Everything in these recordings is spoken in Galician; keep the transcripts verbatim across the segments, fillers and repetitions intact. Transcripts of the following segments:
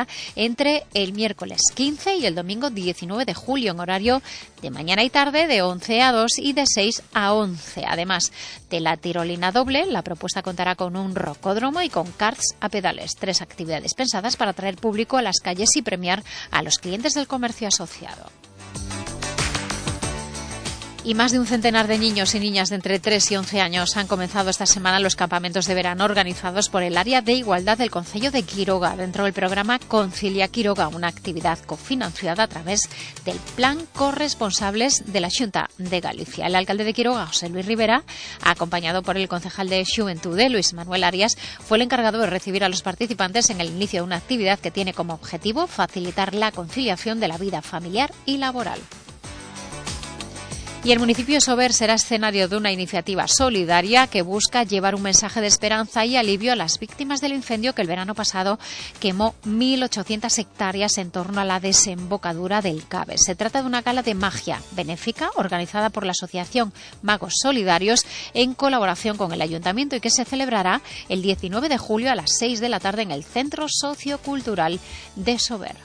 será entre el miércoles quince y el domingo diecinueve de julio, en horario de mañana y tarde de once a dos y de seis a once. Además de la tirolina doble, la propuesta contará con un rocódromo y con karts a pedales, tres actividades pensadas para atraer público a las calles y premiar a los clientes del comercio asociado. Y más de un centenar de niños y niñas de entre tres y once años han comenzado esta semana los campamentos de verano organizados por el Área de Igualdad del Concello de Quiroga, dentro del programa Concilia Quiroga, una actividad cofinanciada a través del Plan Corresponsables de la Xunta de Galicia. El alcalde de Quiroga, José Luis Rivera, acompañado por el concejal de Xuventude, Luis Manuel Arias, fue el encargado de recibir a los participantes en el inicio de una actividad que tiene como objetivo facilitar la conciliación de la vida familiar y laboral. Y el municipio de Sober será escenario de una iniciativa solidaria que busca llevar un mensaje de esperanza y alivio a las víctimas del incendio que el verano pasado quemó mil ochocientas hectáreas en torno a la desembocadura del Cabe. Se trata de una gala de magia benéfica organizada por la Asociación Magos Solidarios en colaboración con el Ayuntamiento y que se celebrará el diecinueve de julio a las seis de la tarde en el Centro Sociocultural de Sober.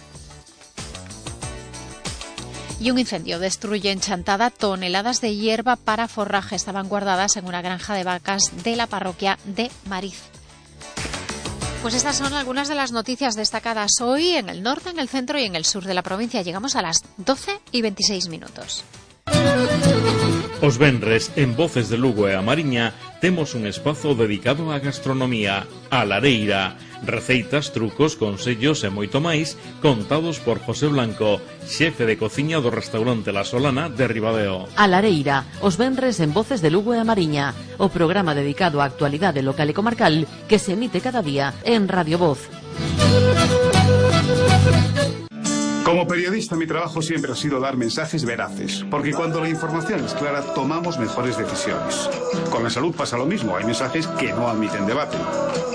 Y un incendio destruye en Chantada toneladas de hierba para forraje. Estaban guardadas en una granja de vacas de la parroquia de Mariz. Pues estas son algunas de las noticias destacadas hoy en el norte, en el centro y en el sur de la provincia. Llegamos a las doce y veintiséis minutos. Os venres, en Voces de Lugo e a Mariña, temos un espazo dedicado á gastronomía, a lareira. Receitas, trucos, consellos e moito máis contados por José Blanco, xefe de cociña do restaurante La Solana de Ribadeo. A lareira, os venres en Voces de Lugo e a Mariña, o programa dedicado á actualidade local e comarcal que se emite cada día en Radio Voz. Como periodista, mi trabajo siempre ha sido dar mensajes veraces, porque cuando la información es clara, tomamos mejores decisiones. Con la salud pasa lo mismo, hay mensajes que no admiten debate.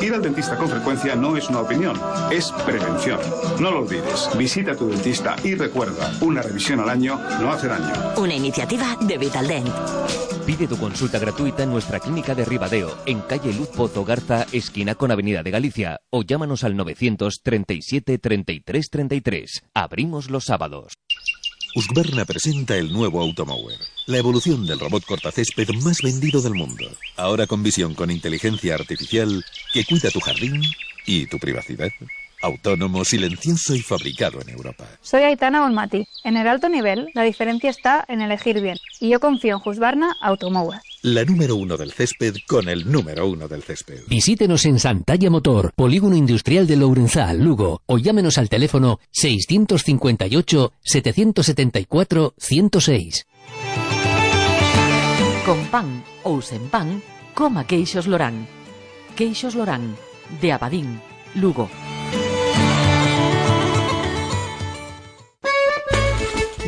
Ir al dentista con frecuencia no es una opinión, es prevención. No lo olvides, visita a tu dentista y recuerda, una revisión al año no hace daño. Una iniciativa de Vitaldent. Pide tu consulta gratuita en nuestra clínica de Ribadeo, en calle Luz Pozo Garza, esquina con Avenida de Galicia, o llámanos al novecientos treinta y siete treinta y tres treinta y tres. Abrimos los sábados. Husqvarna presenta el nuevo Automower, la evolución del robot cortacésped más vendido del mundo. Ahora con visión con inteligencia artificial que cuida tu jardín y tu privacidad. Autónomo, silencioso y fabricado en Europa. Soy Aitana Bonmati. En el alto nivel, la diferencia está en elegir bien. Y yo confío en Husqvarna Automower. La número uno del césped con el número uno del césped. Visítenos en Santalla Motor, Polígono Industrial de Lourenzá, Lugo, o llámenos al teléfono seiscientos cincuenta y ocho, setecientos setenta y cuatro, ciento seis. Con pan ou sen pan, coma queixos Lorán. Queixos Lorán, de Abadín, Lugo.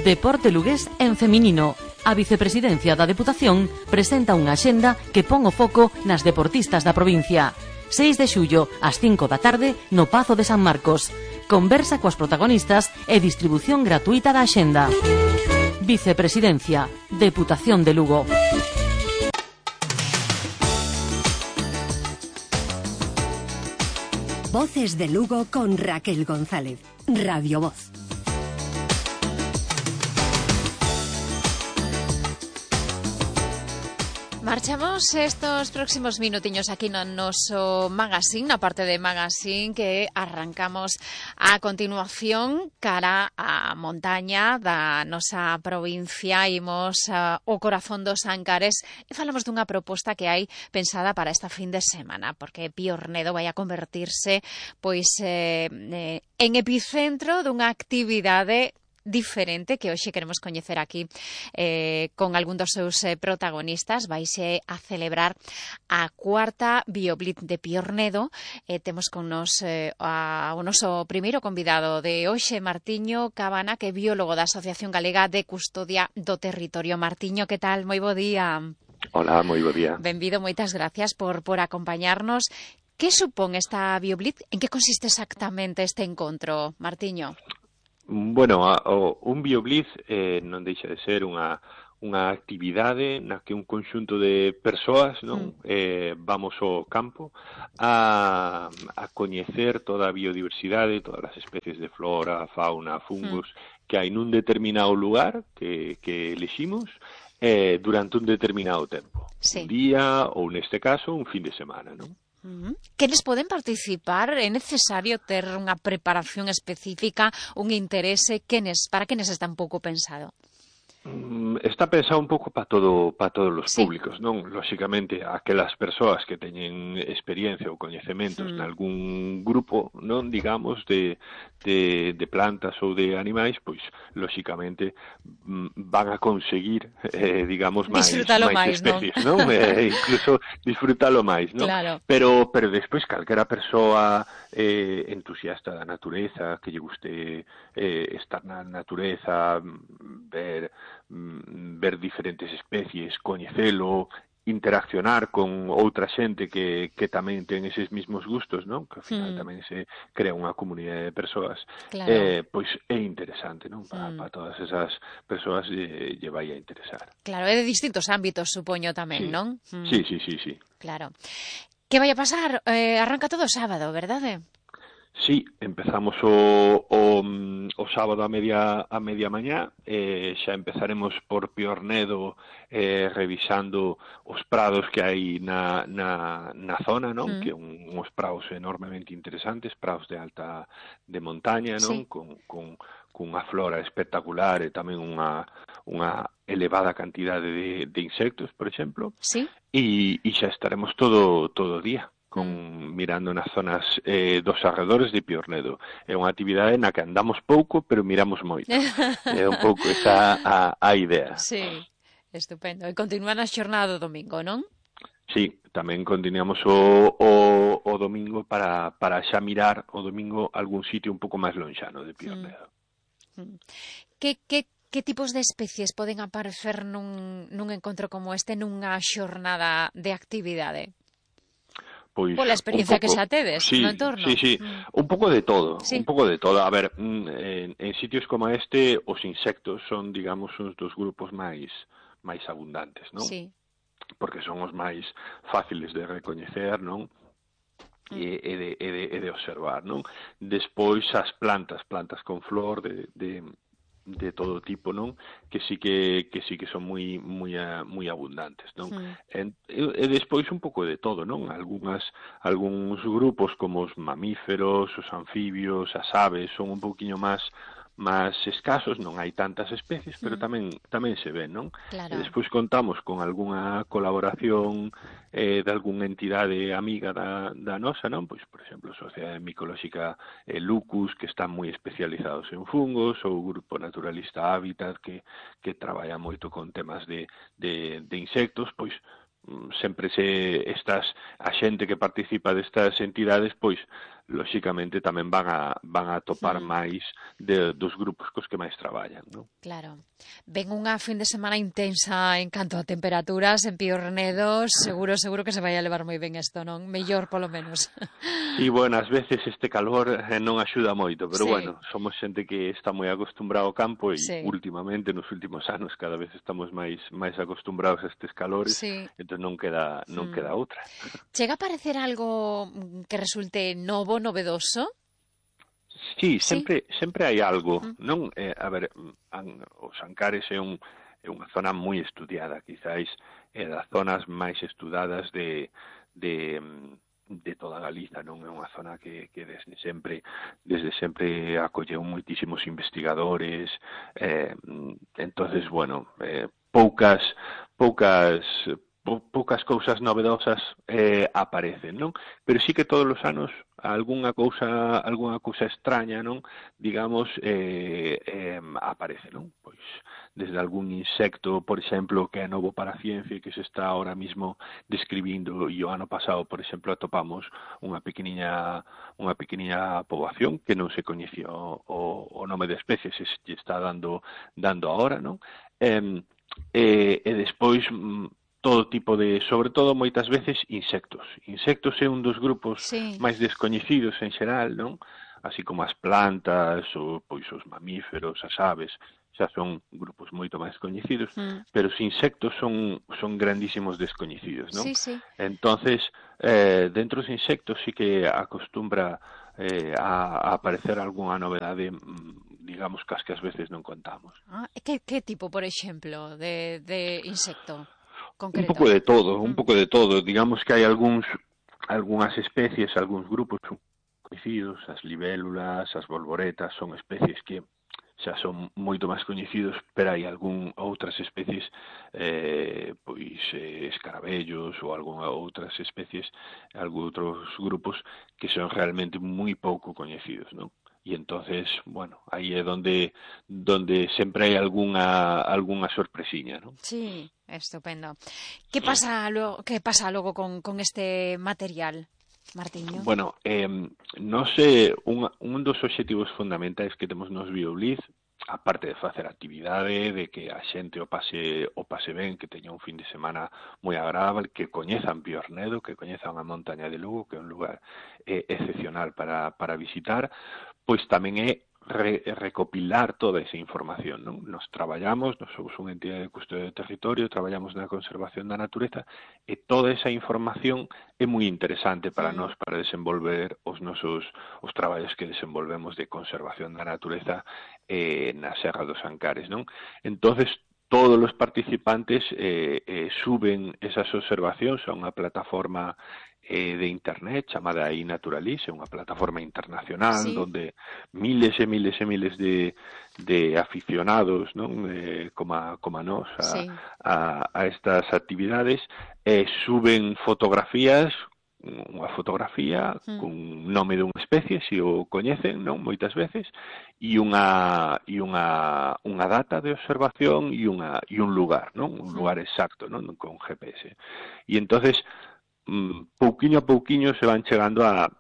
Deporte lugués en feminino. A vicepresidencia da Deputación presenta unha axenda que pon o foco nas deportistas da provincia. seis de xullo, ás cinco da tarde, no Pazo de San Marcos. Conversa coas protagonistas e distribución gratuita da axenda. Vicepresidencia, Deputación de Lugo. Voces de Lugo con Raquel González. Radio Voz. Marchamos estos próximos minutiños aquí no noso magazine, na parte de magazine que arrancamos a continuación cara a montaña da nosa provincia. Imos uh, o corazón dos Ancares e falamos dunha proposta que hai pensada para esta fin de semana, porque Piornedo vai a convertirse pois eh, eh, en epicentro dunha actividade diferente que hoxe queremos coñecer aquí eh, con algún dos seus eh, protagonistas. Vaise a celebrar a cuarta Bioblitz de Piornedo. Eh, temos con nos eh, a, o noso primeiro convidado de hoxe, Martiño Cabana, que é biólogo da Asociación Galega de Custodia do Territorio. Martiño, que tal? Moi bo día. Hola, moi bo día. Benvido, moitas gracias por, por acompañarnos. Que supón esta Bioblitz? En que consiste exactamente este encontro, Martiño? Bueno, a, o, un Bioblitz eh, non deixa de ser unha, unha actividade na que un conxunto de persoas, non, mm. eh, vamos ao campo a, a coñecer toda a biodiversidade, todas as especies de flora, fauna, fungos mm. que hai nun determinado lugar que, que eliximos eh, durante un determinado tempo. Sí. Un día ou, neste caso, un fin de semana, non? Uh-huh. Quenes poden participar? É necesario ter unha preparación específica, un interese? Quenes, para quenes está un pouco pensado? Está pensado un pouco para todo para todos os sí. públicos, non? Lóxicamente, aquelas persoas que teñen experiencia ou coñecementos mm. nalgún grupo, non, digamos, de, de, de plantas ou de animais, pois, lóxicamente, van a conseguir, eh, digamos, máis, máis especies, non? non? Eh, incluso disfrutalo máis, non? Claro. Pero, pero despois, calquera persoa eh, entusiasta da natureza, que lle guste eh, estar na natureza, ver ver diferentes especies, coñecelo, interaccionar con outra xente que, que tamén ten eses mismos gustos, non? Que ao final mm. tamén se crea unha comunidade de persoas. Claro. Eh, pois é interesante, non? Para, mm. para todas esas persoas lle, lle vai a interesar. Claro, é de distintos ámbitos, supoño tamén, sí. non? Mm. Sí, sí, sí, sí. Claro. Que vai a pasar? Eh, arranca todo o sábado, verdade? Sí, empezamos o, o, o sábado a media a media mañá, eh, xa empezaremos por Piornedo eh, revisando os prados que hai na, na, na zona, non? Mm. Que un, uns prados enormemente interesantes, prados de alta de montaña, non? Sí. Con, con, con unha flora espectacular e tamén unha, unha elevada cantidade de, de insectos, por exemplo. Sí. E, e xa estaremos todo todo o día con mirando nas zonas eh, dos arredores de Piornedo. É unha actividade na que andamos pouco, pero miramos moito. É un pouco esa a, a idea. Sí, estupendo. E continúa na xornada do domingo, non? Sí, tamén continuamos o, o, o domingo para, para xa mirar o domingo algún sitio un pouco máis lonxano de Piornedo. Mm. Que, que, que tipos de especies poden aparecer nun, nun encontro como este, nunha xornada de actividade? Pois, pola experiencia pouco, que xa tedes sí, no entorno. Sí, sí, mm. un pouco de todo, sí. un pouco de todo. A ver, en, en sitios como este, os insectos son, digamos, uns dos grupos máis máis abundantes, non? Sí. Porque son os máis fáciles de recoñecer, non? Mm. E, e, de, e, de, e de observar, non? Despois as plantas, plantas con flor de... de de todo tipo, non? Que sí que que sí que son moi moi moi abundantes, non? Mm. E, e despois un pouco de todo, non? Algúnas algúns grupos como os mamíferos, os anfibios, as aves son un pouquiño máis máis escasos, non hai tantas especies, pero tamén tamén se ven, non? Claro. E despois contamos con algunha colaboración eh, de algunha entidade amiga da, da nosa, non? Pois, por exemplo, a Sociedade Micolóxica eh, Lucus, que están moi especializados en fungos, ou o Grupo Naturalista Hábitat, que, que traballa moito con temas de, de, de insectos, pois sempre se estas a xente que participa destas entidades, pois lóxicamente tamén van a van a topar mm. máis de, dos grupos cos que máis traballan, non? Claro. Ven unha fin de semana intensa en canto a temperaturas en Piornedo, seguro seguro que se vai a levar moi ben isto, non? Mellor polo menos. Sí, bueno, ás veces este calor eh, non axuda moito, pero sí. bueno, somos xente que está moi acostumbrado ao campo e sí. últimamente nos últimos anos cada vez estamos máis máis acostumbrados a estes calores, sí. entón non queda non mm. queda outra. Chega a parecer algo que resulte novo, novedoso? Sí, sempre sí. sempre hai algo, uh-huh. non? Eh, a ver, an, os Ancares é un é unha zona moi estudiada, quizáis é das zonas máis estudadas de de de toda Galiza, non? É unha zona que, que desde sempre desde sempre acolleu moitísimos investigadores, eh, entonces, bueno, eh, poucas poucas poucas cousas novedosas eh, aparecen, non? Pero sí que todos os anos algunha cousa algunha cousa extraña, non? Digamos, eh, eh, aparece, non? Pois desde algún insecto, por exemplo, que é novo para a ciencia e que se está ahora mismo describindo, e o ano pasado, por exemplo, atopamos unha pequeniña unha pequeniña poboación que non se coñecía o, o, o nome de especie, se está dando dando ahora, non? Eh, e, e despois todo tipo de, sobre todo moitas veces, insectos. Insectos é un dos grupos sí. máis descoñecidos en xeral, non? Así como as plantas, ou pois os mamíferos, as aves, xa son grupos moito máis coñecidos, Mm. pero os insectos son son grandísimos descoñecidos, non? Sí, sí. Entonces, eh, dentro dos insectos sí que acostumbra eh, a, a aparecer algunha novedade, digamos, que as que ás veces non contamos. Ah, que, que tipo, por exemplo, de, de insecto concreto? Un pouco de todo, un Mm. pouco de todo. Digamos que hai algúns algunhas especies, algúns grupos coñecidos, as libélulas, as bolboretas, son especies que xa son moito máis coñecidos, pero hai algún outras especies, eh, pois eh, escarabellos ou algunha outras especies, algún outros grupos que son realmente moi pouco coñecidos, non? E entonces, bueno, aí é donde donde sempre hai algunha algunha sorpresiña, non? Sí, estupendo. Que pasa logo, que pasa logo con, con este material, Martiño? Bueno, eh, non sei, un, un dos obxectivos fundamentais que temos nos BioBliss, aparte de facer actividade, de que a xente o pase o pase ben, que teña un fin de semana moi agradable, que coñezan Piornedo, que coñezan a montaña de Lugo, que é un lugar eh, excepcional para, para visitar, pois tamén é re, recopilar toda esa información, non? Nos traballamos, nos somos unha entidade de custodia do territorio, traballamos na conservación da natureza, e toda esa información é moi interesante para Mm. nós, para desenvolver os nosos os traballos que desenvolvemos de conservación da natureza eh, na Serra dos Ancares, non? Entonces, todos os participantes eh, eh, suben esas observacións a unha plataforma eh, de internet chamada iNaturalis, é unha plataforma internacional, Sí. donde miles e miles e miles de, de aficionados, non? Eh, como, a, como a nós a, Sí. a, a estas actividades, eh, suben fotografías, unha fotografía Mm. con nome dunha especie, se o coñecen, non, moitas veces, e unha e unha unha data de observación e unha e un lugar, non, un Mm. lugar exacto, non, con G P S. E entonces, mm, pouquiño a pouquiño se van chegando a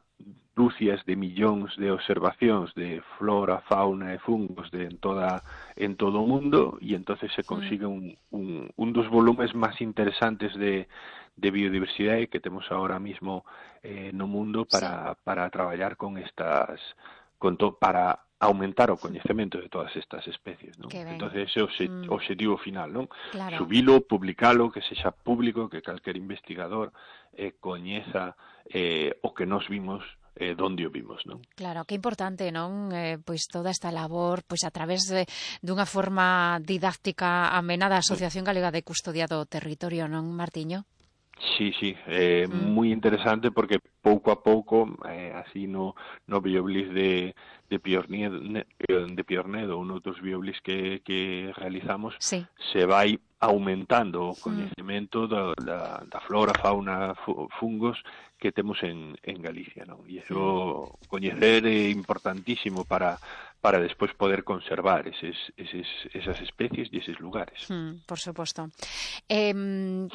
dúcias de millóns de observacións de flora, fauna e fungos de en toda en todo o mundo, e entonces se consigue un, un, un dos volumes máis interesantes de de biodiversidade que temos ahora mismo eh, no mundo para, sí. para traballar con estas, con to, para aumentar o coñecemento de todas estas especies, non? Entonces ese é o obxe, mm. obxectivo final, non? Claro. Subilo, publicalo, que sexa público, que calquer investigador eh, coñeza eh, o que nos vimos eh, donde o vimos, non? Claro, que importante, non? Eh, pois toda esta labor, pois a través de dunha forma didáctica amena da Asociación Galega de Custodia do Territorio, non, Martiño? Sí, sí, eh, Mm. moi interesante porque pouco a pouco, eh, así no, no BioBliss de, de, Piornedo, de Piornedo ou noutros BioBliss que, que realizamos, sí. se vai aumentando o coñecemento mm. da, da, da flora, fauna, fungos que temos en, en Galicia, non? E iso mm. coñecer é importantísimo para para despois poder conservar eses, eses, esas especies e eses lugares. Mm, por suposto. Eh,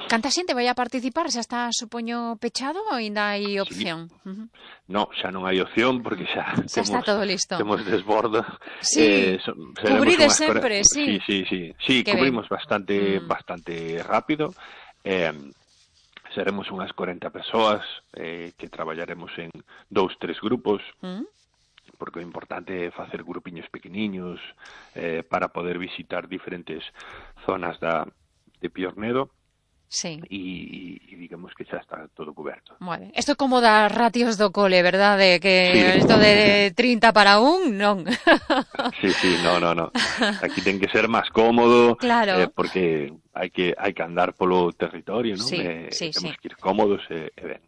canta xente vai a participar? Xa está, supoño, pechado ou ainda hai opción? Sí. Uh-huh. No, xa non hai opción porque xa, xa temos, está todo listo. Temos desbordo. Sí, eh, so, cubride sempre, sí. Sí, sí, sí. Sí, que cubrimos ben. bastante, mm. bastante rápido. Eh, seremos unhas corenta persoas eh, que traballaremos en dous, tres grupos. Mm. Porque o importante é facer grupiños pequeniños eh, para poder visitar diferentes zonas da, de Piornedo. Sí. E, e digamos que xa está todo coberto. Bueno, isto como das ratios do cole, verdade? Que isto sí. de trinta para un, non. Sí, sí, no, no, no. Aquí ten que ser máis cómodo, claro. eh, porque hai que hai que andar polo territorio, non? Sí, eh, sí, temos sí. que ir cómodos e, e ben.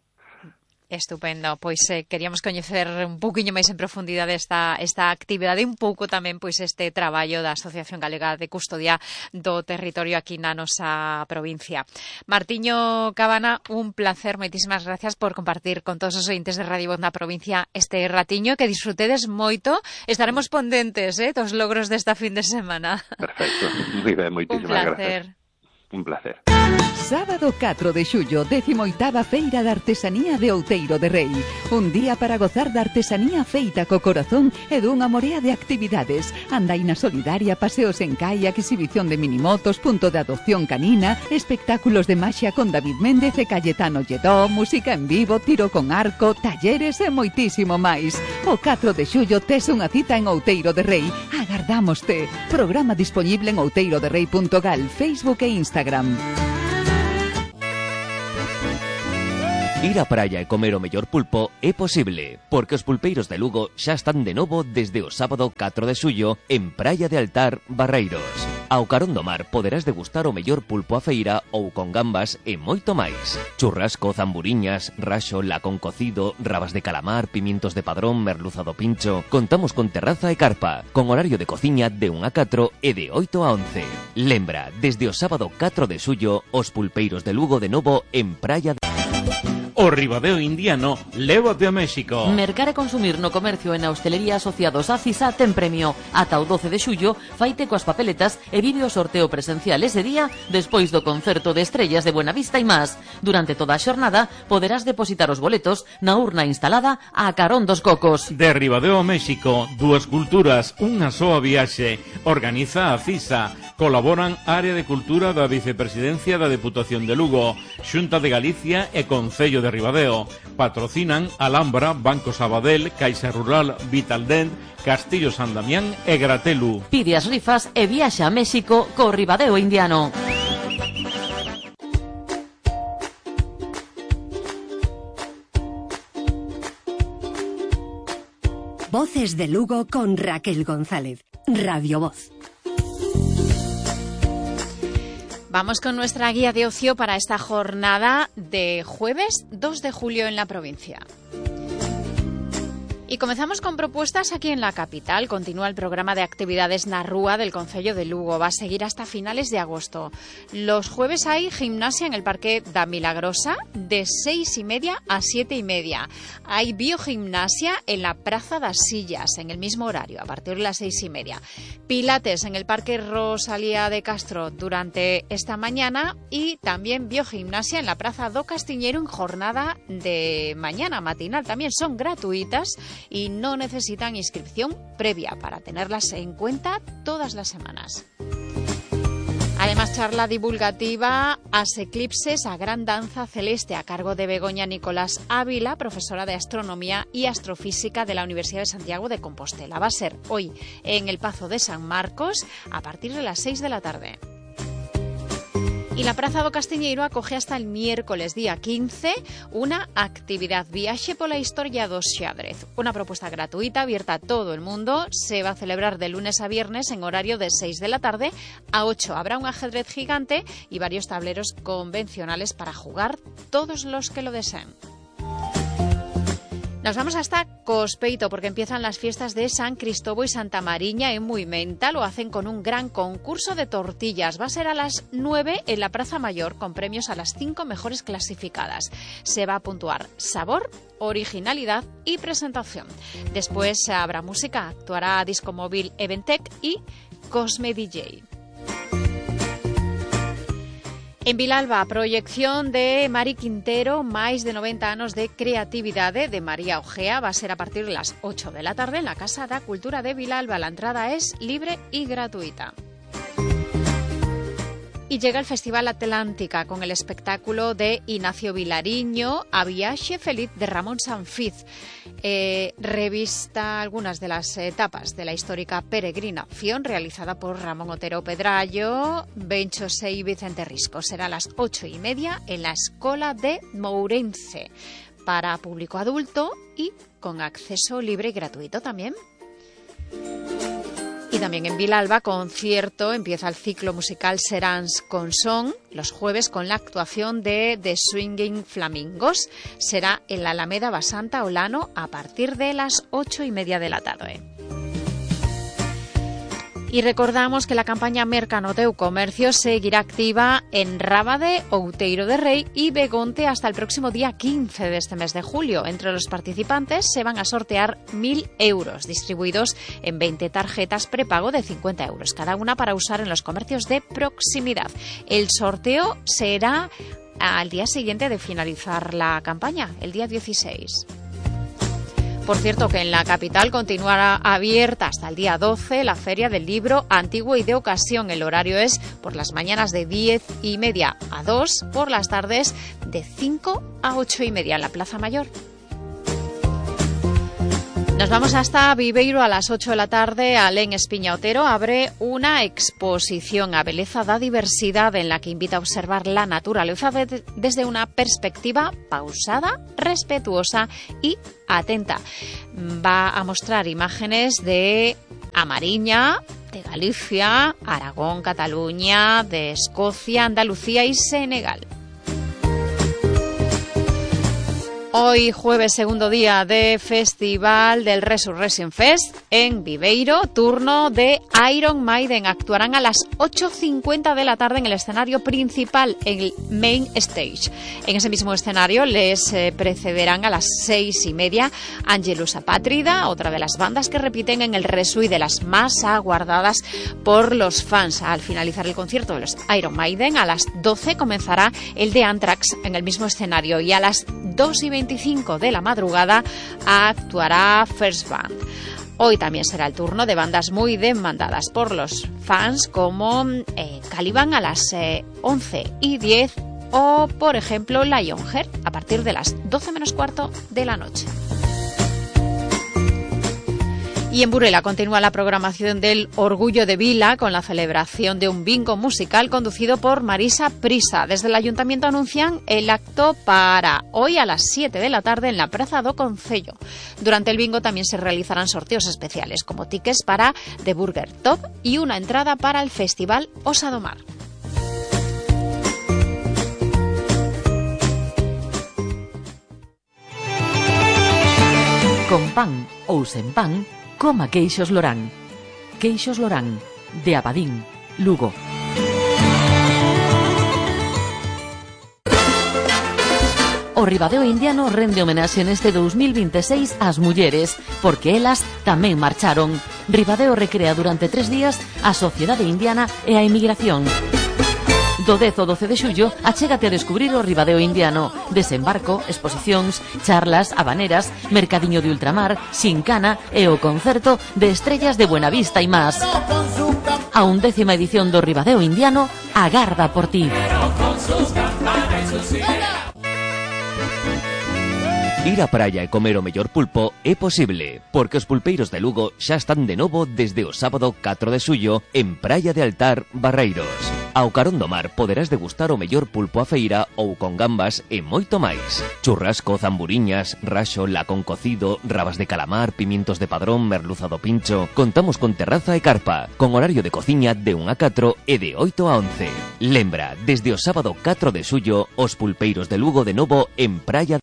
Estupendo, pois eh, queríamos coñecer un pouquiño máis en profundidade esta, esta actividade e un pouco tamén pois este traballo da Asociación Galega de Custodia do Territorio aquí na nosa provincia. Martiño Cabana, un placer, moitísimas gracias por compartir con todos os ointes de Radio Voz na provincia este ratiño, que disfrutedes moito, estaremos pendentes eh, dos logros desta fin de semana. Perfecto, moi ben, moitísimas gracias. Un placer. Gracias. Un placer. Sábado catro de xullo, décimo oitava Feira de Artesanía de Outeiro de Rei. Un día para gozar da artesanía feita co corazón e dunha morea de actividades. Andaina solidaria, paseos en kayak, exhibición de minimotos, punto de adopción canina, espectáculos de maxia con David Méndez e Cayetano Lledó, música en vivo, tiro con arco, talleres e moitísimo máis. O catro de xullo tes unha cita en Outeiro de Rei. Agardámoste. Programa disponible en outeiroderrei punto gal, Facebook e Instagram. Ir á praia e comer o mellor pulpo é posible, porque os pulpeiros de Lugo xa están de novo desde o sábado catro de xullo en Praia de Altar, Barreiros. Ao carón do mar poderás degustar o mellor pulpo a feira ou con gambas e moito máis. Churrasco, zamburiñas, raxo, lacón cocido, rabas de calamar, pimientos de padrón, merluza do pincho. Contamos con terraza e carpa, con horario de cociña de un a catro e de oito a once. Lembra, desde o sábado catro de xullo, os pulpeiros de Lugo de novo en Praia de... O Ribadeo Indiano lévate a México. Mercar e consumir no comercio e na hostelería asociados a CISA ten premio. Ata o doce de xullo, faite coas papeletas e vive o sorteo presencial ese día despois do concerto de estrellas de Buenavista e más. Durante toda a xornada poderás depositar os boletos na urna instalada a carón dos cocos. De Ribadeo a México, dúas culturas, unha soa viaxe. Organiza a CISA. Colaboran Área de Cultura da Vicepresidencia da Deputación de Lugo, Xunta de Galicia e Concello de Ribadeo. Patrocinan Alhambra, Banco Sabadell, Caixa Rural, Vitaldent, Castillo San Damián e Gratelu. Pide as rifas e viaxa a México co Ribadeo Indiano. Voces de Lugo con Raquel González. Radio Voz. Vamos con nuestra guía de ocio para esta jornada de jueves dos de julio en la provincia. Y comenzamos con propuestas aquí en la capital. Continúa el programa de actividades na Rúa del Concello de Lugo. Va a seguir hasta finales de agosto. Los jueves hay gimnasia en el Parque da Milagrosa de seis y media a siete y media. Hay biogimnasia en la Praza das Sillas en el mismo horario, a partir de las seis y media. Pilates en el Parque Rosalía de Castro durante esta mañana y también biogimnasia en la Praza do Castiñeiro en jornada de mañana matinal. También son gratuitas y no necesitan inscripción previa para tenerlas en cuenta todas las semanas. Además, charla divulgativa As Eclipses, a Gran Danza Celeste, a cargo de Begoña Nicolás Ávila, profesora de Astronomía y Astrofísica de la Universidad de Santiago de Compostela. Va a ser hoy en el Pazo de San Marcos a partir de las seis de la tarde. Y la Praza do Castiñeiro acoge hasta el miércoles día quince una actividad Viaxe pola Historia do Xadrez. Una propuesta gratuita abierta a todo el mundo. Se va a celebrar de lunes a viernes en horario de seis de la tarde a ocho. Habrá un ajedrez gigante y varios tableros convencionales para jugar todos los que lo deseen. Nos vamos hasta Cospeito porque empiezan las fiestas de San Cristóbal y Santa Mariña en Muimenta. Lo hacen con un gran concurso de tortillas. Va a ser a las nueve en la Plaza Mayor con premios a las cinco mejores clasificadas. Se va a puntuar sabor, originalidad y presentación. Después habrá música, actuará Disco Móvil Eventec y Cosme D J. En Vilalba, proyección de Mari Quintero, máis de noventa anos de creatividade de María Ojea. Va a ser a partir de las ocho de la tarde en la Casa da Cultura de Vilalba. La entrada es libre y gratuita. Y llega el Festival Atlántica con el espectáculo de Ignacio Vilariño, A Viaxe Feliz de Ramón Sanfiz. Eh, revista algunas de las etapas de la histórica peregrinación realizada por Ramón Otero Pedrallo, Bencho Sei y Vicente Risco. Será a las ocho y media en la Escola de Mourense para público adulto y con acceso libre y gratuito también. Y también en Vilalba, concierto, empieza el ciclo musical Seráns con Son, los jueves con la actuación de The Swinging Flamingos. Será en la Alameda Basanta Olano a partir de las ocho y media de la tarde. Y recordamos que la campaña Mercano Teu Comercio seguirá activa en Rábade, Outeiro de Rei y Begonte hasta el próximo día quince de este mes de julio. Entre los participantes se van a sortear mil euros, distribuidos en veinte tarjetas prepago de cincuenta euros cada una para usar en los comercios de proximidad. El sorteo será al día siguiente de finalizar la campaña, el día dieciséis. Por cierto, que en la capital continuará abierta hasta el día doce la Feria del Libro Antiguo y de Ocasión. El horario es por las mañanas de diez y media a dos, por las tardes de cinco a ocho y media en la Plaza Mayor. Nos vamos hasta Viveiro a las ocho de la tarde. Alén Espiña Otero abre una exposición A Beleza da Diversidade en la que invita a observar la naturaleza de, desde una perspectiva pausada, respetuosa y atenta. Va a mostrar imágenes de A Mariña, de Galicia, Aragón, Cataluña, de Escocia, Andalucía y Senegal. Hoy, jueves, segundo día de festival del Resurrection Fest en Viveiro, turno de Iron Maiden. Actuarán a las ocho cincuenta de la tarde en el escenario principal, en el Main Stage. En ese mismo escenario les eh, precederán a las seis y media Angelus Apátrida, otra de las bandas que repiten en el Resu y de las más aguardadas por los fans. Al finalizar el concierto de los Iron Maiden, a las doce comenzará el de Anthrax en el mismo escenario y a las dos y veinticinco de la madrugada actuará First Band. Hoy también será el turno de bandas muy demandadas por los fans como eh, Caliban a las eh, once y diez o, por ejemplo, Lionheart a partir de las doce menos cuarto de la noche. Y en Burela continúa la programación del Orgullo de Vila con la celebración de un bingo musical conducido por Marisa Prisa. Desde el Ayuntamiento anuncian el acto para hoy a las siete de la tarde en la Praza do Concello. Durante el bingo también se realizarán sorteos especiales como tickets para The Burger Top y una entrada para el Festival Osa do Mar. Con pan ou sen pan, coma queixos Lorán. Queixos Lorán, de Abadín, Lugo. O Ribadeo Indiano rende homenaxe neste dous mil veintiséis ás mulleres, porque elas tamén marcharon. Ribadeo recrea durante tres días a sociedade indiana e a emigración. Do dez ao doce de xullo, achégate a descubrir o Ribadeo Indiano. Desembarco, exposicións, charlas, habaneras, mercadiño de ultramar, xincana e o concerto de Estrellas de Buenavista e máis. A undécima edición do Ribadeo Indiano agarda por ti. Ir á praia e comer o mellor pulpo é posible, porque os pulpeiros de Lugo xa están de novo desde o sábado catro de xullo en Praia de Altar, Barreiros. Ao carón do mar poderás degustar o mellor pulpo a feira ou con gambas e moito máis. Churrasco, zamburiñas, raxo, lacón cocido, rabas de calamar, pimientos de padrón, merluza do pincho. Contamos con terraza e carpa, con horario de cociña de un a catro e de oito a once. Lembra, desde o sábado catro de xullo, os pulpeiros de Lugo de novo en Praia